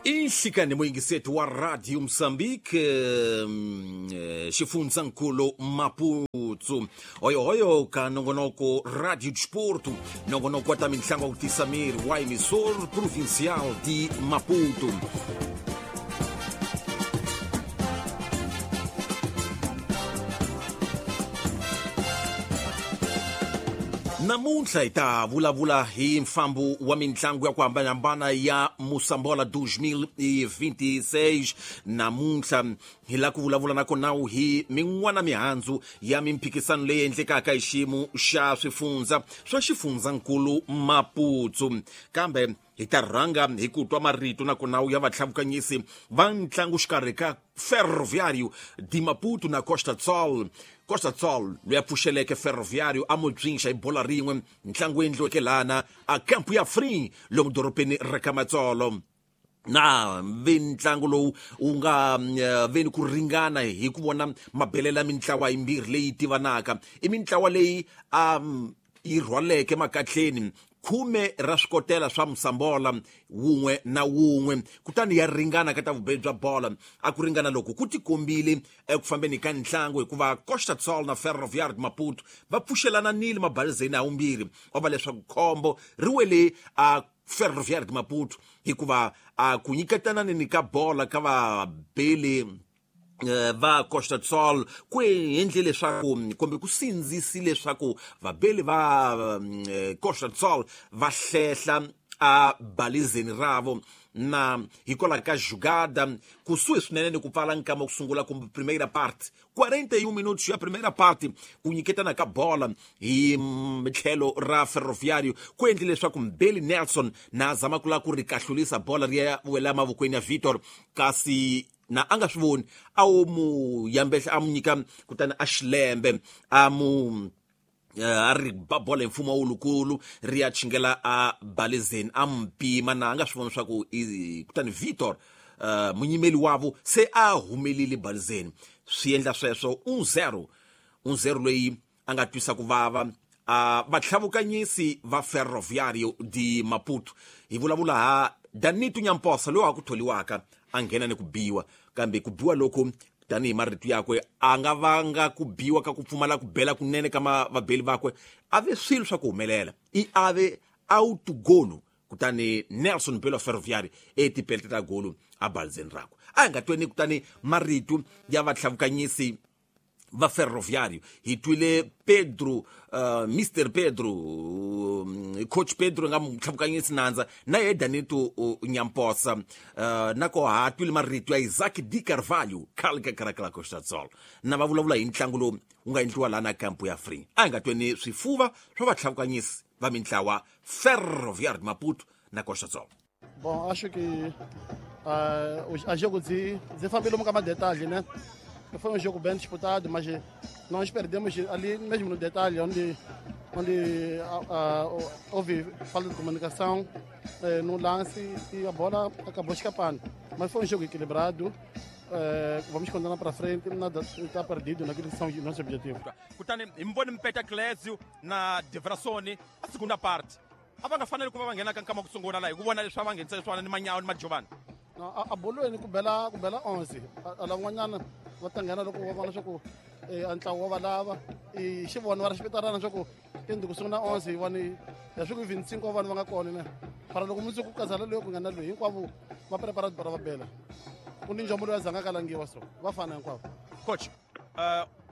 Inhlikani muyingiseti wa Radio Mozambique, xifundzankulu Maputo, hoyohoyo ka nongonoko Radio Desporto, nongonoko wa ta mintlangu wa ku tisa miri wa emissor provincial de Maputo. Namuntlha hi ta vulavula hi mfambo wa mitlangu ya ku hambanahambana ya Mosambola 2026. Namuntlha hi lava ku vulavula na kona hi min'wana mihandzu ya mimphikisano leyi endlekaka hi xiyimo xa swifundza swa xifundzankulu Maputo, kambe hi ta rhanga hi ku twa marito na kona ya vatlhavukanyisi va ntlangu xikarhi ka Ferroviário de Maputo na Costa Sol. Costa Sol loyi a pfuxeleke Ferroviário a mubyixa hi bola rin'we, ntlangu wu endliweke lana a kampu ya Free lomu dorobeni ra ka Matsolo. Na ve ntlangu lowu wu nga veni ku ringana hi ku vona mabelela ya mintlawa yimbirhi leyi tivanaka, i mintlawa leyi a yi rhwaleke makatleni 10 ra swikotela swa Mosambola wun'we na wun'we, kutani ya ringana ka ta vubeli bya bola. A ku ringana loko ku tikombile eku fambeni ka ntlangu, hikuva Costa Sol na Ferroviário de Maputo va pfuxelananile mabalizeni a wumbirhi, wa va leswaku khombo ri wele a Ferroviário de Maputo, hikuva a ku nyiketananeni ka bola ka vabeli va Costa Sol ku endle leswaku kumbe ku sindzisi leswaku vabeli va Costa Sol va hlehla a balizeni ravo, na hikwalaho ka jugada kusuhi swinene ni ku pfala nkama ku sungula kumbe primeira parte, 41 minutos ya primeira parte, ku nyiketana ka bola hi tlhelo ra Ferroviário ku endle leswaku Mbeli Nelson na zama ku lava ku ri kahlulisa bola ri ya wela mavokweni ya Vitor, kasi na a nga swi voni, a wo mu yambehla a mu nyika kutani a xilembe a mu a ri ba bola hi mfumo wulukulu ri ya chingela a balizeni, a mu pima na a nga swi voni swa ku kutani Vitor munyimeli wavo se a humelile balizeni, swi endla sweswo 1-0 1-0 loyi a nga twisa ku vava vatlhavukanyisi va Ferroviário de Maputo. Hi vulavula ha Danito Nyamposa loyi a ku tholiwaka a nghena ni ku biwa, kambe ku biwa loko tanihi marito yakwe a nga vanga ku biwa ka ku pfumala ku bela kunene ka vabeli vakwe, a ve swilo swa ku humelela i ave autogolo, kutani Nelson Belo Ferroviário etipelete ta golo a balizeni rakwe. A hi nga tweni kutani marito ya vatlhavukanyisi va Ferroviário. Hi twile Pedro, Mr Pedro, coach Pedro nga mutlhavukanyisi nandza na ye Danito Nyamposa, na ko ha twile marito ya Isaac Di Carvalho khale ka Karakala Costa Sol, na va vulavula hi ntlangu lowu wu nga endliwa laha na kampu ya Free. A hi nga tweni swifuva swa vatlhavukanyisi va mintlawa Ferroviário de Maputo na Costa Sol. Bom, acho que a jogo de fambile um bocado detalhe, né? Foi um jogo bem disputado, mas nós perdemos ali mesmo no detalhe, onde houve falta de comunicação no lance e a bola acabou escapando. Mas foi um jogo equilibrado, vamos continuar para frente, nada está perdido naquilo que são os nossos objetivos. Kutani hi mi vone Mpeta Clésio na Devrasoni a segunda parte. A va nga faneli ku va va nghena ka nkama ku sungula laha hi ku vona leswi a va nghenisa leswiwani ni Manyawo ni Majovani. A bolweni ku bela 11, a lan'wanyana va ta nghena loko va vona leswaku a ntlawa wa va lava i xivona va ri xipitarana leswaku tindi ku sungula 11 hi voni ya swi ku 25 wa vanhu va nga kona ne fara loko mundzuku ku kazala loyi ku nghena loyi hinkwavo va prepara tibara va bela ku ni njomo loyi a zanga kalangiwa so va fana hinkwavo. Coach,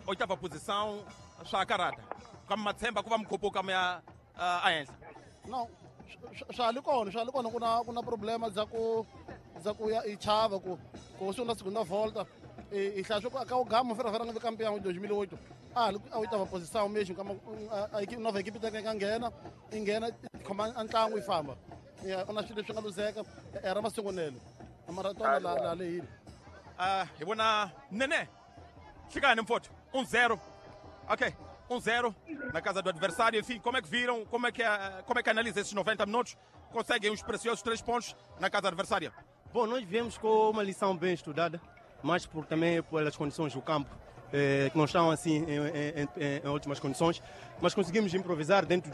oitava posição swa karata kambe matshemba ku va mukhupuka mi ya a henhla. No, swa li kona ku na problema dza ku ya i chava ku sungula segunda volta i hlaya swa ku ka ugama Ferroviário nga vi campeão em 2008 a oitava posição mesmo kama a equipe nova equipe tem que nghena i nghena khoma ntlangu i famba ya ku na swilo leswi nga luzeka era masungulelo a maratona la lehile. Hi vona Nene hlekani mfowethu 1-0. Ok, 1-0 na casa do adversário. Enfim, como é que viram, como é que analisa esses 90 minutos? Conseguem os preciosos 3 pontos na casa adversária? Bom, nós viemos com uma lição bem estudada, mas também pelas condições do campo. que não estão assim em ótimas condições, mas conseguimos improvisar dentro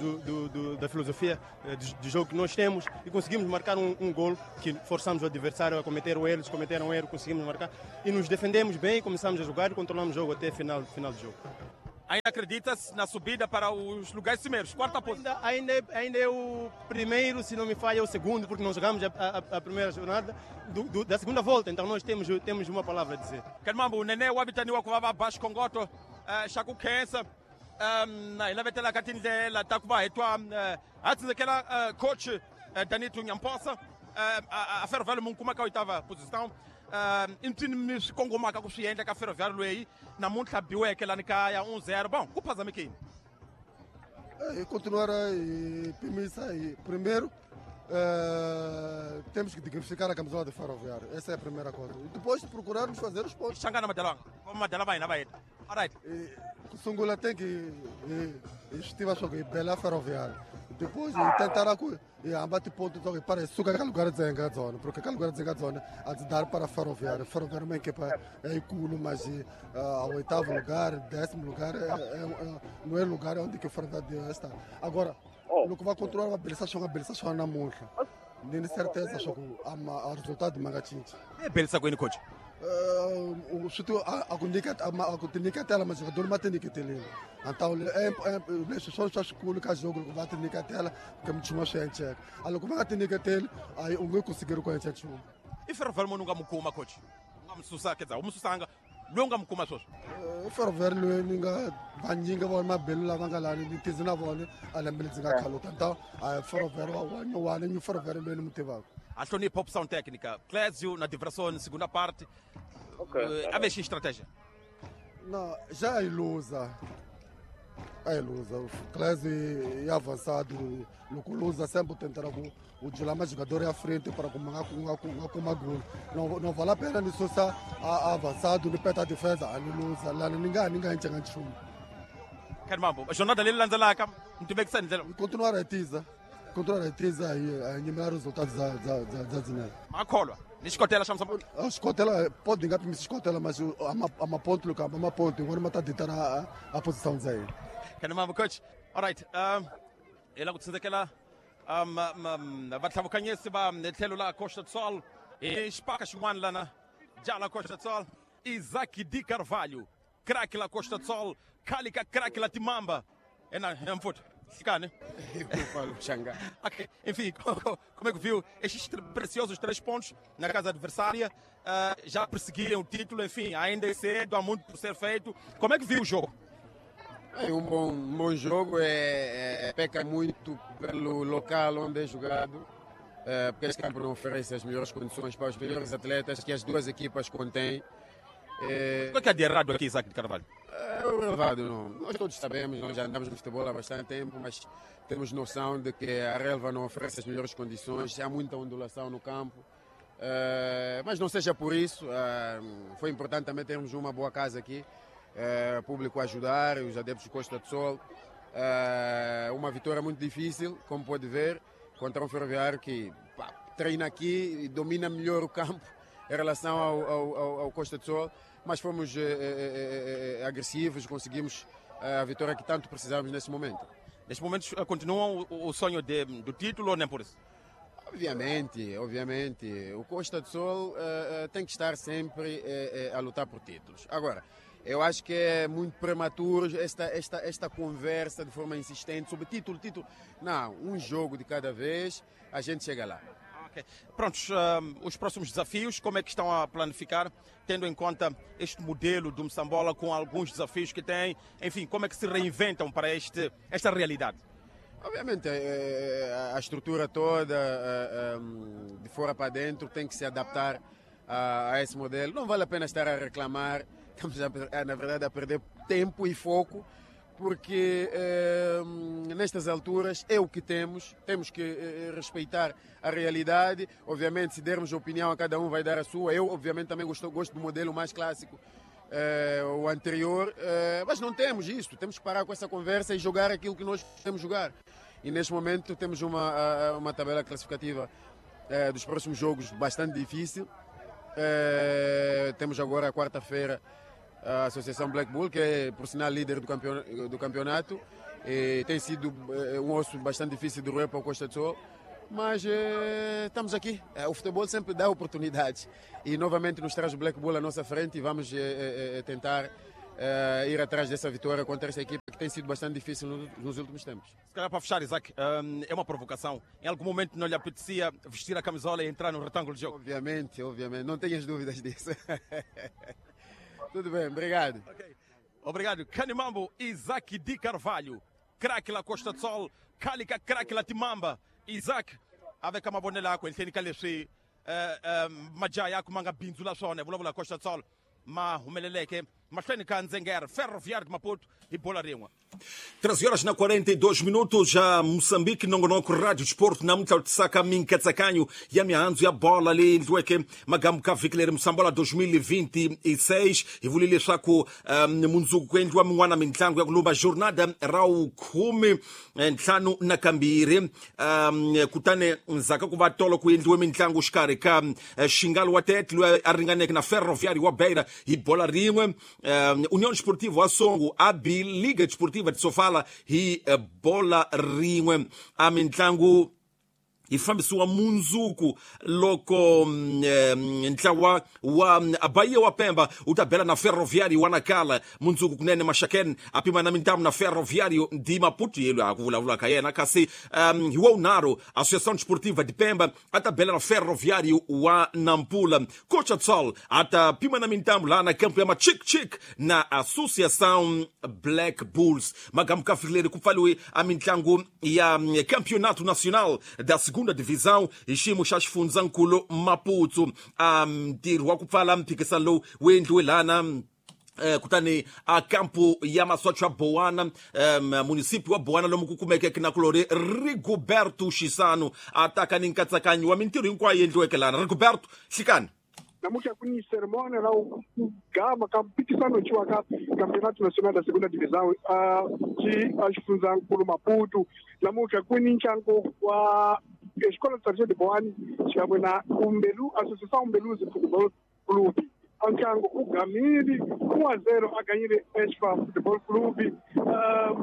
da filosofia de jogo que nós temos e conseguimos marcar um gol que forçamos o adversário a cometer o erro, eles cometeram um erro, conseguimos marcar e nos defendemos bem, começamos a jogar e controlamos o jogo até final do jogo. Ainda acredita-se na subida para os lugares cimeiros? Quarta posição. Ainda é o primeiro, se não me falha, é o segundo, porque não jogamos a primeira jornada da segunda volta, então nós temos uma palavra a dizer. Kanmambo, Nenê, o habitante wa kuva baixo Congoto, xa ku khensa, hi lavetela ka tindlela ta ku va hi twa a tsindzekela coach Danito Nyamposa, a Ferroviário mu kuma ka oitava posição. I mpfini swi kongomaka ku swi endla ka Ferroviário leyi namuntlha biweke lani kaya 1-0. Bom, ku phazamekini. E continuar a pimisa e primeiro temos que dignificar a camisola de Ferroviário. Essa é a primeira coisa. E depois procurarmos fazer os pontos. Xangana Madalanga. Madala vai na vai. Alright. Sungula tem que estiva só que bela Ferroviário. Depois tentar e abate ponto então para suca aquele lugar de zona, porque aquele lugar de zona a dar para Ferroviário. Ferroviário é uma equipa é culo, mas ao oitavo lugar, 10º lugar não é lugar onde que o Ferroviário está. Agora, no que vai controlar a beleza só na montra. Nem certeza só que o resultado magatinho. É beleza com ele coach. O sítio a comunica mas o jogador mata que tem. Então é só só esculo que jogo vai ter que tela que me chama gente. A lo como tem que ter aí um conseguir com a gente. E Ferroviário nunca mukuma coach. Nunca msusa quer dizer, umsusanga longa mukuma só. Ferroviário nunca banjinga va mabelu lava nga lani ni tizina vona a lembe ndzi nga khaluta. Então a Ferroviário wa ni Ferroviário loyi ni mutivaka. A hlonipha opção técnica. Clésio na diversão, segunda parte. Okay. A mexer estratégia. Não, já é ilusa. É ilusa. O Clésio é avançado. O Lusa sempre tentará o dilema jogador à frente para como gol. Não vale a pena nisso avançado, no pé da defesa, a ilusa. Lá ninguém enxerga chumbo. Caramba, a jornada ali lança lá, não tiver que sair. Continuar a tiza. Continuar a tiza e eliminar os resultados da Zinel. Macolwa, ni xikotela xa Mozambique. A xikotela pode enganar me xikotela, mas a uma ponto, a uma ponto, agora mata deitar a posição dele. Kanamamba coach. All right. Ela ku tsindzekela vatlhavukanyesi va tlhelo la Costa do Sol e xipaka xin'wana lana jala Costa do Sol Isaac de Carvalho, craque la Costa do Sol, Kalika craque la Timamba. É mfuto. Ficar, né? Okay. Enfim, como é que viu estes preciosos 3 pontos na casa adversária? Já perseguiram o título, enfim, ainda é cedo, há muito por ser feito. Como é que viu o jogo? É um bom jogo, peca muito pelo local onde é jogado, porque este campo não oferece as melhores condições para os melhores atletas que as duas equipas contêm. O que é de errado aqui, Isaac de Carvalho? É o relevado, não. Nós todos sabemos, nós já andamos no futebol há bastante tempo, mas temos noção de que a relva não oferece as melhores condições, há muita ondulação no campo. Mas não seja por isso, foi importante também termos uma boa casa aqui, público a ajudar, os adeptos de Costa do Sol. Uma vitória muito difícil, como pode ver, contra um Ferroviário que treina aqui e domina melhor o campo em relação ao Costa do Sol, mas fomos agressivos, conseguimos a vitória que tanto precisávamos nesse momento. Neste momento continuam o sonho do título ou nem por isso? Obviamente, obviamente. O Costa do Sol tem que estar sempre a lutar por títulos. Agora, eu acho que é muito prematuro esta conversa de forma insistente sobre título, título. Não, um jogo de cada vez, a gente chega lá. Okay. Prontos, os próximos desafios, como é que estão a planificar, tendo em conta este modelo do Moçambola com alguns desafios que tem, enfim, como é que se reinventam para esta realidade? Obviamente, a estrutura toda, de fora para dentro, tem que se adaptar a esse modelo. Não vale a pena estar a reclamar, estamos, na verdade, a perder tempo e foco, porque nestas alturas é o que temos, temos que respeitar a realidade. Obviamente, se dermos opinião a cada um vai dar a sua. Eu, obviamente, também gosto do modelo mais clássico, o anterior, mas não temos isso, temos que parar com essa conversa e jogar aquilo que nós podemos jogar. E neste momento temos uma tabela classificativa dos próximos jogos bastante difícil. Temos agora a quarta-feira a Associação Black Bull, que é, por sinal, líder do campeonato. E tem sido um osso bastante difícil de roer para o Costa do Sol, mas estamos aqui. O futebol sempre dá oportunidades e novamente nos traz o Black Bull à nossa frente e vamos tentar ir atrás dessa vitória contra essa equipe que tem sido bastante difícil nos últimos tempos. Se calhar para fechar, Isaac, é uma provocação. Em algum momento não lhe apetecia vestir a camisola e entrar no retângulo de jogo? Obviamente, obviamente. Não tenhas dúvidas disso. Tudo bem, obrigado. Okay. Obrigado. Canimambo, Isaac de Carvalho. Craque la Costa do Sol, Calica craque la Timamba. Isaac, avec mavonelo yakwe ehenhleni ka leswi majaha yakwe ma nga bindzula swona hi vulavula Costa do Sol ma humeleleke mahlweni ka Ndzengere Ferroviário de Maputo hi bola rin'we. 13 horas na 42 minutos, já Moçambique, nongonoko Rádio Desporto, namuntlha tisaka minkatsakanyo ya mihandzu ya bola leyi endliweke magamu ka vhiki leri Mosambola 2026. Hi vule leswaku mundzuku ku endliwa min'wana mitlangu ya ku lumba jornada ra vukhume ntlhanu na kambirhi. Kutani ndzhaku ku va tolo ku endliwe mitlangu xikarhi ka Xingalo wa Tete loyi a ringaneke na Ferroviário wa Beira hi bola rin'we, União Desportiva wa Songo a bi Liga Desportiva de Sofala hi bola rin'we. A mitlangu yi fambisiwa mundzuku loko ntlawa wa Bahia wa Pemba wu ta bela na Ferroviário wa Nacala mundzuku kunene. Maxaken a pima na mintamu na Ferroviário de Maputo yelo a ku vulavula ka yena, kasi hi wa wunharhu Associação Desportiva de Pemba a ta bela na Ferroviário wa Nampula. Cocha Sol a ta pima na mintamu laha na campo ya Machikchik na Associação Black Bulls. Magamu ka fikileri ku pfaliwe a mitlangu ya Campeonato Nacional da Segunda Divisão hi xiyimo xa xifundzankulu Maputo. A ntirho wa ku pfala mphikisano lowu wu endliwe lana kutani a kampu ya masocha ya Boana, município wa Boana lomu ku kumekeke na kulori Rigoberto Chisano a taka ni nkatsakanyo wa mintirho hinkwayo yi endliweke lana. Rigoberto, hlikani. Namuntlha ku ni cerimônia la ku gama ka mphikisano ciwa ka Campeonato Nacional da Segunda Divisão ci a xifundzankulu Maputo. Namuntlha ku ni ntlangu wa Escola de Boane xikan'we na Umbelu, Associação Umbeluzi Futebol Clube. A ntlangu u gamile 1-0 a ganyile Esfa Futebol Clube,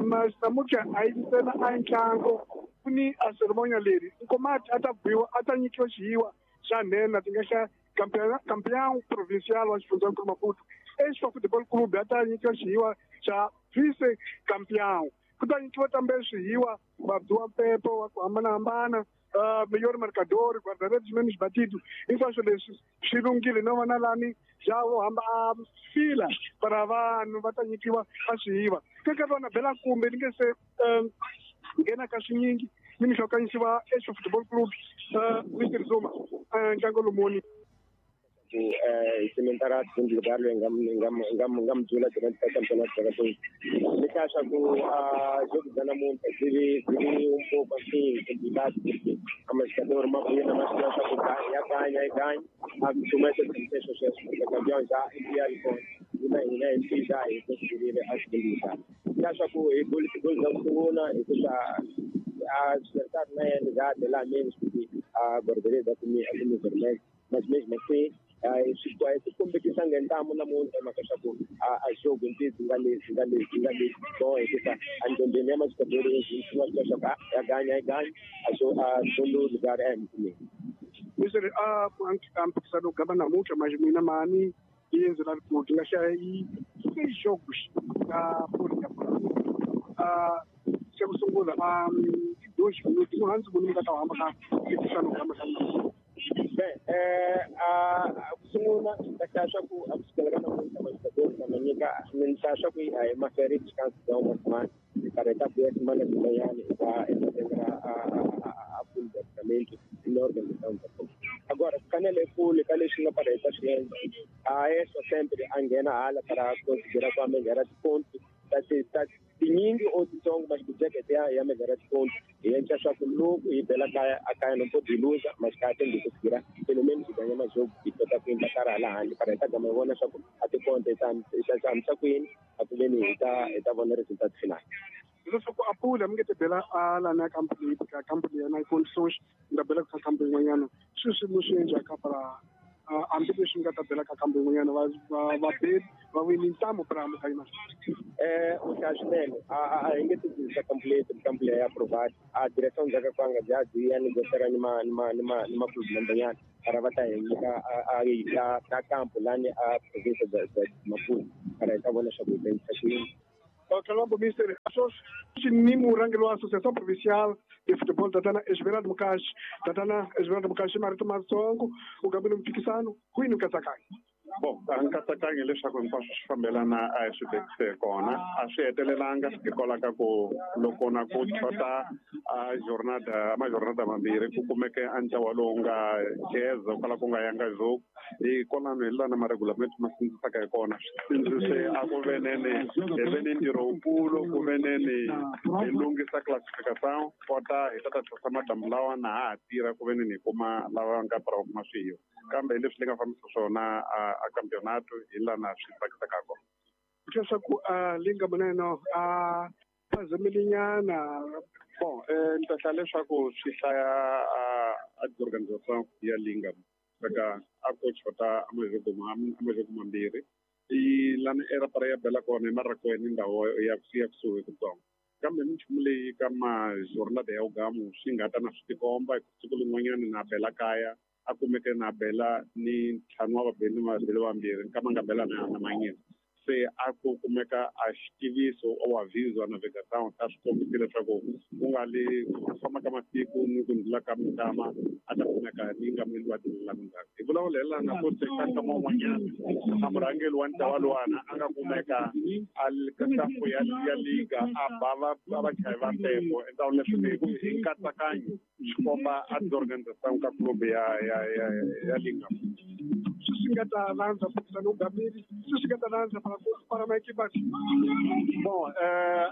mas namuntlha a yi ntsena a ntlangu, ku ni a cerimônia leri nkomati a ta biwa a ta nyikiwa xiyiwa xa nhenha ti nga xa campeão provincial wa xifundzankulu Maputo. Esfa Futebol Clube a ta nyikiwa xiyiwa xa vice campeão. Ku ta nyikiwa tambe swihiwa vabiwa mpepo wa ku hambanahambana, melhor marcador, guarda-redes menos batido. Hinkwaswo leswi swi lunghile no vona lani xa vo hamba a fila para vanhu va ta nyikiwa a swihiwa. Ka nkarhi wa na bela kumbe ni nge se nghena ka swinyingi ni mihlokanisiwa Esfa Futebol Clube, Mr Zuma, ntlangu lomuni. Cimentar segundo lugar nga mudula durante o campeonato da Ni acha que a jogo da namuntlha byi vi um pouco assim complicado, porque a marcador uma buena mas que acha que ya ganha e ganha a começa a ter sucesso porque campeão já enviar com uma ina já e conseguir a segundo lugar. Ni acha que o gol gol da segunda e que a acertar na ligada lá menos porque a guarda-redes da comi vermelho, mas mesmo assim esse competição ngentamo namuntlha mhaka swa ku a jogo ntizi nga leswi nga leswi nga leswi so hikusa andondeni ya masikadori swi nga swa ku ya ganya ya ganya a so a segundo lugar é muito. Mr a mphikisano gama namuntlha mas mina mani yenze la ku nga xa yi seis jogos ka poli ya a xa ku sungula a 2 minutos no hansi munhu nga ta hamba ka mphikisano gama ka namuntlha. Bem, a sungula ta swa ku a kusukela ka namuntlha masikadori ma nyika ni ta swa ku a hi mafere descanso da uma semana para ta buya semana swin'wanyana eka eka a full departamento na organização da agora kanele kule ka leswi nga para hi ta swi endla a eso sempre a nghena hala para conseguir a melhora de ponto ta tinyingi or titsongo mas kujekete ya melhora de ponto hi endla swa ku loko hi bela kaya a kaya no pode luza mas kaya tem que conseguir pelo menos ganhar mais jogo e kota ku endla karhi hala handle para hi ta gama hi vona swa ku a tiponto hi ta hamisa ku yini a ku veni hi ta vona resultado final. Leswaku a pula mi nge ti bela a lana ya company ka company ya na condições nga bela ka company yin'wanyana sweswi mi swi endlaka para Hambileswi nga ta bela ka kambe yin'wanyana vabeli va wini ntamu para mukayima. U hlaya swinene a hi nge tirhisa kampu leyi kampu leyi ya provide a direção bya ka kwanga bya byi ya negociara ni ma ni ma ni ma ni ma club member para va ta hi nyika a kampu lani a province bya Maputo para hi ta vona swa ku hi ta yisa ku yini. Colombo Mister sweswi ni murhangeri wa Associação Provincial de Futebol Tatana Esmeralda Mukashi. Tatana Esmeralda Mukashi, marito matsongo u gambile mphikisano kwini nkatsakanyo? Bon, a nkatsakanyo leswaku hinkwaswo swi fambelana a hi swi vekise kona, a swi hetelelanga hikwalaho ka ku loko na ku chota a jornada majornada mambirhi ku kumeke a ntlawa lowu nga jeza kwala ku nga yanga joku hi kwalano hi lana maregulamento ma sindzisaka hi kona. Swi sindzise a ku venene hi ve ni ntirho wukulu ku veneni hi lunghisa classification kota hi ta ta tlhosa madamu lawa na ha ha tirha ku veneni hi kuma lava nga para kuma swiyo, kambe leswi ni nga fambisa swona a campeonato hi lana swi tsakisaka kona. Leswaku a linga muneno a phazamelinyana. Bon, ni ta hlaya leswaku swi hlaya a organisation ya linga saka a ko chota a majoko mambirhi i lana era para ya bela kona hi marakweni ndhawu ya kusuhi kutsongo, kambe minchumu leyi ka majornada ya ugamu swi nga ta na swi tikomba siku lin'wanyana na bela kaya a kumeke na bela ni ntlhanu wa vabeli ni vabeli vambirhi nkama nga bela na manyini se a ku kumeka a xitiviso o aviso a navegação ta swi kombisi leswaku ku nga li ku famba ka masiku ni ku ndlula ka minkama a ta kumeka ni nga mili wa tindzhaku ndzhaku hi vulavula hi lana ku se ka nkama wun'wanyana a murhangeri wa ntlawa luwana a nga kumeka a kampu ya liga a ba va vachayi va mpepo entawuni leswi hi nkatsakanyo swi komba a tiorganisation ka club ya liga. Swi nga ta landza mphikizano wu gamile, swi nga ta landza para maekipa. Bon,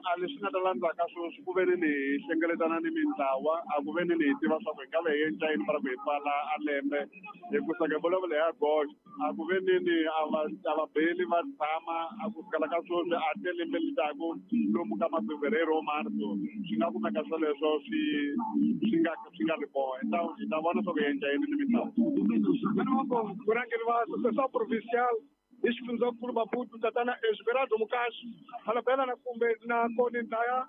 a leswi nga ta landzaka sweswi ku ve ni hi hlengeletana ni mintlawa a ku ve ni hi tiva swa ku hi nga ve hi endla yini para ku hi pfala a lembe hi ku saka hi vulavula hi agosto a ku ve ni a vabeli va tshama a ku sukela ka sweswi a te lembe litaku lomu ka mafevereiro marso swi nga kumeka swoleswo swi nga ri kona. Hi ta vona swa ku hi endla yini ni mintlawa. Murhangeri wa Associação Provincial hi xifundzankulu Maputo Tatana Esmeralda Mukashi halabela na kumbe na koni ndaya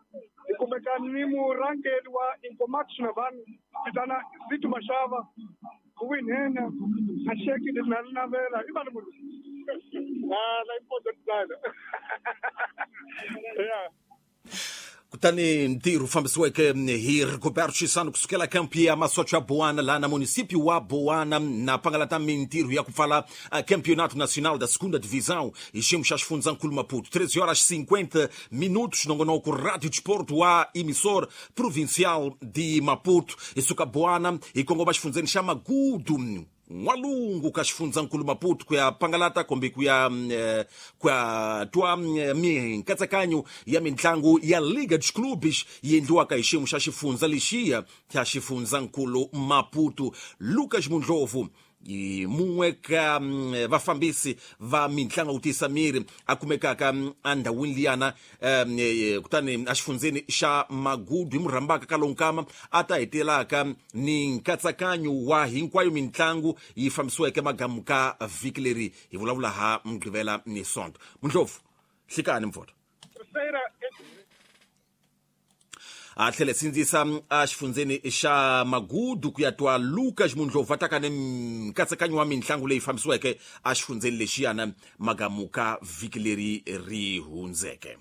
hi kumeka ni murhangeri wa Incomax Navan Tatana Zito Mashava winhena a xeki na navela i vana munhu la important yeah. Kutani ntirho fambisiweke hi Rigoberto Chisano kusukela kampu ya masocho ya Boana laha na município wa Boana na pangalata mintirho ya ku pfala Campeonato Nacional da Segunda Divisão hi xiyimo xa xifundzankulu Maputo. 13 horas 50 minutos nongonoko Rádio Desporto wa emissor provincial de Maputo. Hi suka Boana hi kongoma xifundzeni xa Magudu n'walungu ka xifundzankulu Maputo ku ya pangalata kumbe ku ya twa minkatsakanyo ya mintlangu ya Liga dos Clubes yi endliwaka hi xiyimo xa xifundza lexiya xa xifundzankulu Maputo. Lucas Mundlovu mun'we ka vafambisi va mintlangu ku tiyisa miri a kumekaka endhawini liyana kutani exifundzeni xa Magudu hi murhambaka ka lonkama a ta hetelaka ni nkatsakanyo wa hinkwayo mintlangu yi fambisiweke magamu ka vhiki leri hi vulavula ha Mugqivela ni Sonto. Mundlovu, hlikani mvoto. A tlhele sindzisa exifundzeni xa Magudu ku ya twa Lucas Mundlovu a taka ni nkatsakanyo wa mintlangu leyi fambisiweke exifundzeni lexiyana magamu ka vhiki leri ri hundzeke.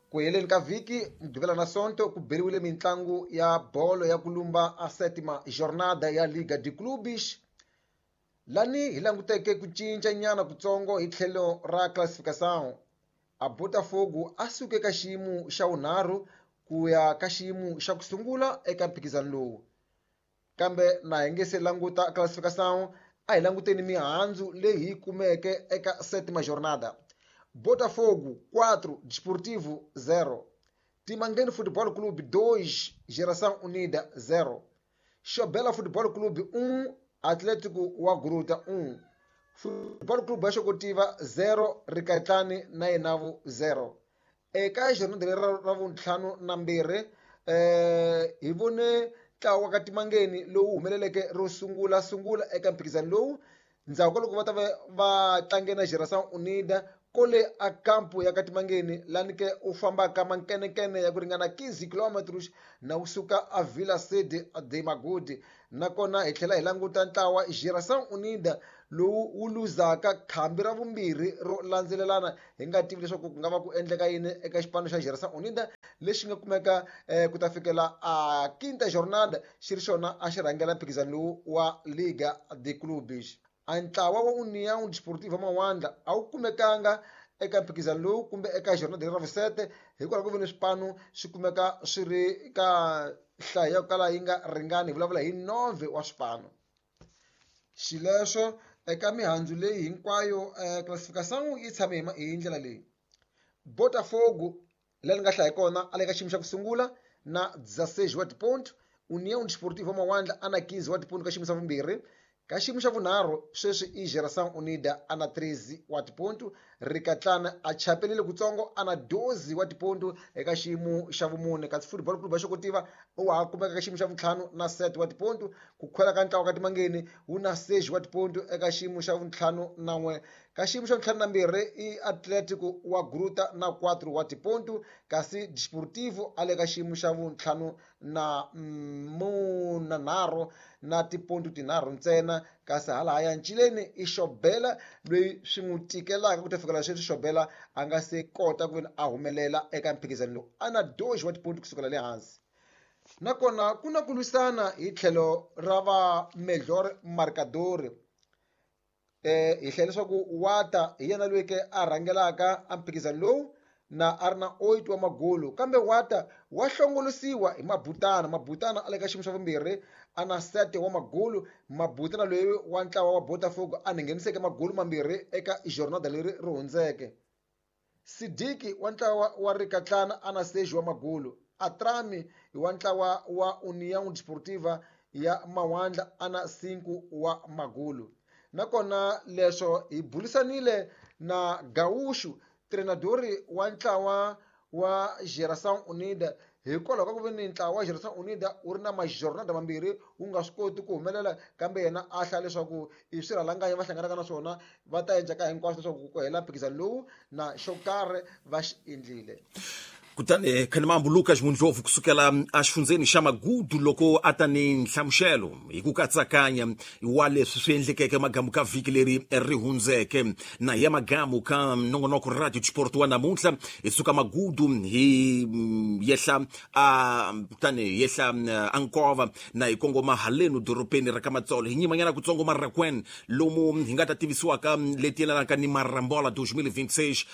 Ku heleni ka vhiki Mugqivela na Sonto ku beriwile mintlangu ya bolo ya kulumba a sétima jornada ya Liga de Clubes lani hi languteke ku cinca nyana kutsongo hi tlhelo ra classificação. A Botafogo a suke ka xiyimo xa vunharhu ku ya ka xiyimo xa ku sungula eka mphikizano lowu, kambe na hi nge se languta classificação a hi languteni mihandzu leyi hi kumeke eka sétima jornada. Botafogo 4, Desportivo 0, Timangeni Futebol Clube 2, Geração Unida 0, Xobela Futebol Clube 1, Atlético wa Gruta 1, Futebol Clube ya Xokotiva 0, Rikatlani na Yenavu 0. Eka jornada leri ra vuntlhanu na mbirhi hi vone ntlawa wa ka Timangeni lowu humeleleke ro sungula eka mphikizano lowu. Ndzhaku ka loko va ta va va tlange na Geração Unida kole a kampo ya Katimangeni, lani ke u fambaka mankenekene ya ku ringana 15 kilometers na wu suka a Vila Sede de Magodi. Nakona hi tlhela hi languta ntlawa Geração Unida lowu wu luzaka khambi ra vumbirhi ro landzelelana, hi nga tivi leswaku ku nga va ku endleka yini eka xipano xa Geração Unida lexi nga kumeka ku ta fikela a quinta jornada xi ri xona a xi rhangela mphikizano lowu wa Liga de Clubes. A ntlawa wa União Desportiva Mawandla a wu kumekanga eka mphikizano lowu kumbe eka jornada ra vusete, hikwalaho ku ve ni swipano swi kumeka swi ri ka nhlayo ya ku kala yi nga ringani, hi vulavula hi 9 wa swipano. Xileswo eka mihandzu leyi hinkwayo classification yi tshame hi ndlela leyi. Botafogo laha ni nga hlaya kona a le ka xiyimo xa ku sungula na 16 wa tiponto, União Desportiva Mawandla a na 15 wa tiponto ka xiyimo xa vumbirhi. Ka xiyimo xa vunharhu sweswi i Geração Unida a na 13 wa tiponto, Rikatlana a chapelile kutsongo a na 12 wa tiponto eka xiyimo xa vumune, kasi Football Club ya Xokotiva wa ha kumeka ka xiyimo xa vuntlhanu na 7 wa tiponto. Ku khwela ka ntlawa ka Timangeni wu na 6 wa tiponto eka xiyimo xa vuntlhanu na n'we. Ka xiyimo xa vuntlhanu na mbirhi i Atletico wa Gruta na 4 wa tiponto, kasi Desportivo a le ka xiyimo xa vuntlhanu na munanharhu na tiponto tinharhu ntsena, kasi halahaya ncileni i Xobela loyi swi n'wi tikelaka ku ta fikela sweswi. Xobela a nga se kota ku veni a humelela eka mphikizano lowu, a na 2 wa tiponto kusukela le hansi. Nakona ku na ku lwisana hi tlhelo ra va melhor marcador, hi hlaya leswaku Wata hi yena loyi ke a rhangelaka a mphikizano lowu na a ri na 8 wa magolo, kambe Wata wa hlongolosiwa hi Mabutana. Mabutana a le ka xiyimo xa vumbirhi a na 7 wa magolo. Mabutana loyi wa ntlawa wa Botafogo a ngheniseke magolo mambirhi eka jornada leri ri hundzeke. Sidiki wa ntlawa wa Rikatlana a na 6 wa magolo. Atrami wa ntlawa wa União Desportiva ya Mawandla a na 5 wa magolo. Nakona leswo hi burisanile na Gaúcho, treinador wa ntlawa wa Geração Unida, hikwalaho ka ku ve ni ntlawa wa Geração Unida wu ri na majornada mambirhi wu nga swi koti ku humelela, kambe yena a hlaya leswaku i swirhalanganya va hlanganaka na swona, va ta endla ka hinkwaswo leswaku ku hela mphikizano lowu na xo karhi va xi endlile. Kutani Khanimambu Lucas Mundlovu kusukela exifundzeni xa Magudu loko a ta ni nhlamuselo hi ku katsakanya wa leswi swi endlekeke magamu ka vhiki leri ri hundzeke, na hi ya magamu ka nongonoko Radio Sport wa namuntlha. Hi suka Magudu hi yehla a kutani hi yehla a Nkova na hi kongoma halenu dorobeni ra ka Matsolo, hi nyimanyana kutsongo Marrakwen lomu hi nga ta tivisiwaka leti yelanaka ni Marambola 2026.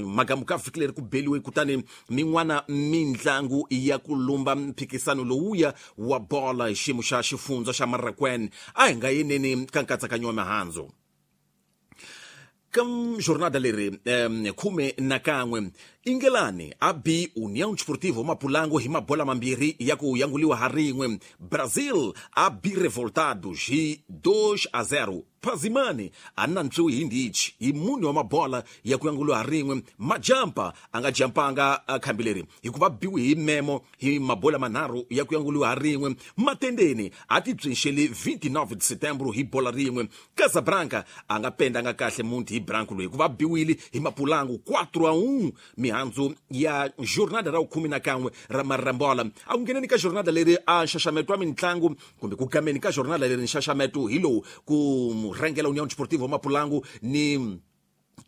Magamu ka vhiki leri ku beliwe kutani min'wana mintlangu ya ku lumba mphikisano lowuya wa bola hi xiyimo xa xifundza xa Marrakwen. A hi nga yeneni ka nkatsakanyo wa mihandzu ka jornada leri 11 Ingelani a bi União Desportivo Mapulango hi mabola mambirhi ya ku yanguliwa ha rin'we. Brazil a bi Revoltados hi 2-0. Pazimani a nantswiwi hi ndichi hi mune wa mabola ya ku yanguliwa ha rin'we. Majampa a nga jampanga khambi leri hikuva biwi hi memo hi mabola manharhu ya ku yanguliwa ha rin'we. Matendeni a ti byinxeli 29 de setembro hi bola rin'we. Casablanca a nga pendanga kahle munti hi Branco loyi hikuva biwile hi Mapulangu 4-1. Mihandzu ya jornada ra 11 ra Marambola. A ku ngheneni ka jornada leri a nxaxameto wa mintlangu kumbe ku gameni ka jornada leri nxaxameto hi lowu ku rhangela União Desportiva Mapulangu ni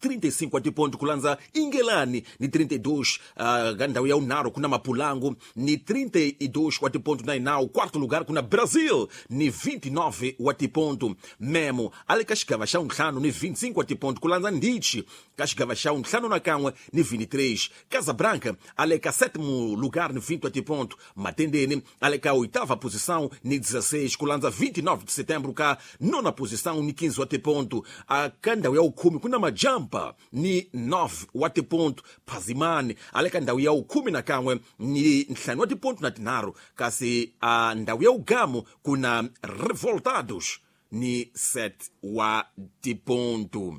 35 wa tiponto, ku landza Ingelani ni 32, ka ndhawu ya vunharhu ku na Mapulangu ni 32 wa tiponto na inawu, quarto lugar ku na Brazil ni 29 wa tiponto. Memo a le ka xigava xa vuntlhanu ni 25 wa tiponto, ku landza Ndichi ka xigava xa vuntlhanu na kan'we ni 23. Casablanca a le ka sétimo lugar ni 20 wa tiponto. Matendeni a le ka oitava posição ni 16, ku landza 29 de setembro ka nona posição ni 15 wa tiponto. A ka ndhawu ya vukhume ku na Majampa ni 9 wa tiponto. Phazimani a le ka ndhawu ya vukhume na kan'we ni ntlhanu wa tiponto na tinharhu, kasi a ndhawu ya vugamu ku na Revoltados ni 7 wa tiponto.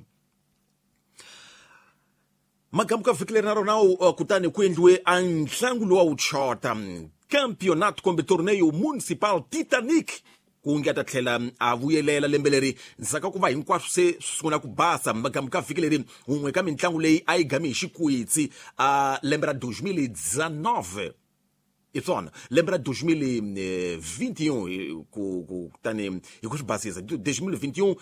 Magamu ka vhiki leri na rona kutani ku endliwe a ntlangu lowa wu chota campeonato kumbe torneio municipal Titanic Ku nge a ta tlhela a vuyelela lembe leri ndzhaku ka ku va hinkwaswo se swi sungula ku basa. Magamu ka vhiki leri wun'we ka mitlangu leyi a yi gami hi xikwitsi a lembe ra 2019, hi swona lembe ra 2021, ku kutani hi ku swi basisa 2021,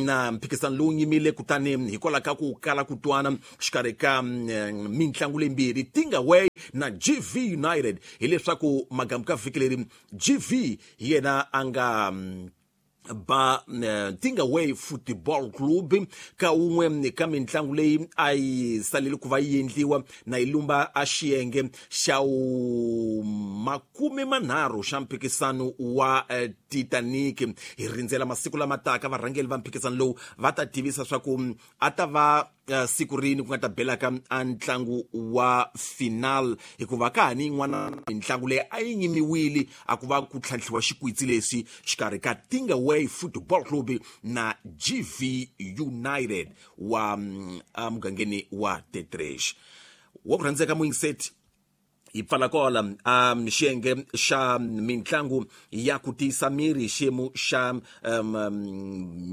na mphikizano lowu nyimile kutani hikwalaho ka ku kala ku twana xikarhi ka mitlangu leyimbirhi, Tingaway na GV United. Hileswaku magamu ka vhiki leri GV hi yena a nga ba Tingaway Football Club ka wun'we ka mitlangu leyi a yi salele ku va yi endliwa na yi lumba a xiyenge xa 30 xa mphikisano wa Titanic. Hi rindzela masiku lama taka varhangeli va mphikisano lowu va ta tivisa swa ku a ta va siku rini ku nga ta belaka a ntlangu wa final, hikuva ka ha ni yin'wana mitlangu leyi a yi nyimiwile a ku va ku tlhantlhiwa xikwitsi lexi xikarhi ka Tingaway Football Club na GV United wa emugangeni wa Tetresh. Wa ku rhandzeka muyingiseti, hi pfala kola xiyenge xa mitlangu ya ku tiyisa miri, xiyimo xa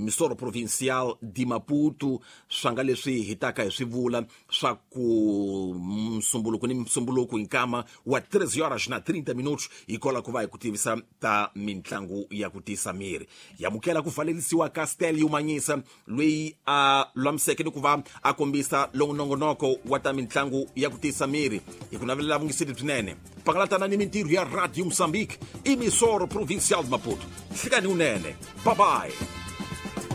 Misoro Provincial de Maputo. Swa nga leswi hi taka hi swi vula swa ku msumbuluko ni msumbuluko hi nkama wa 3 horas na 30 minutos hi kola ku va hi ku tivisa ta mitlangu ya ku tiyisa miri. Yamukela ku valelisiwa ka Stel Manyisa loyi a lwamiseke ni ku va a kombisa lowu nongonoko wa ta mitlangu ya ku tiyisa miri. Hi ku navelela vungiseli byinene, pangalatana ni mintirho ya Radio Mozambique, Emissora Provincial de Maputo. Hlikani unene, bye bye.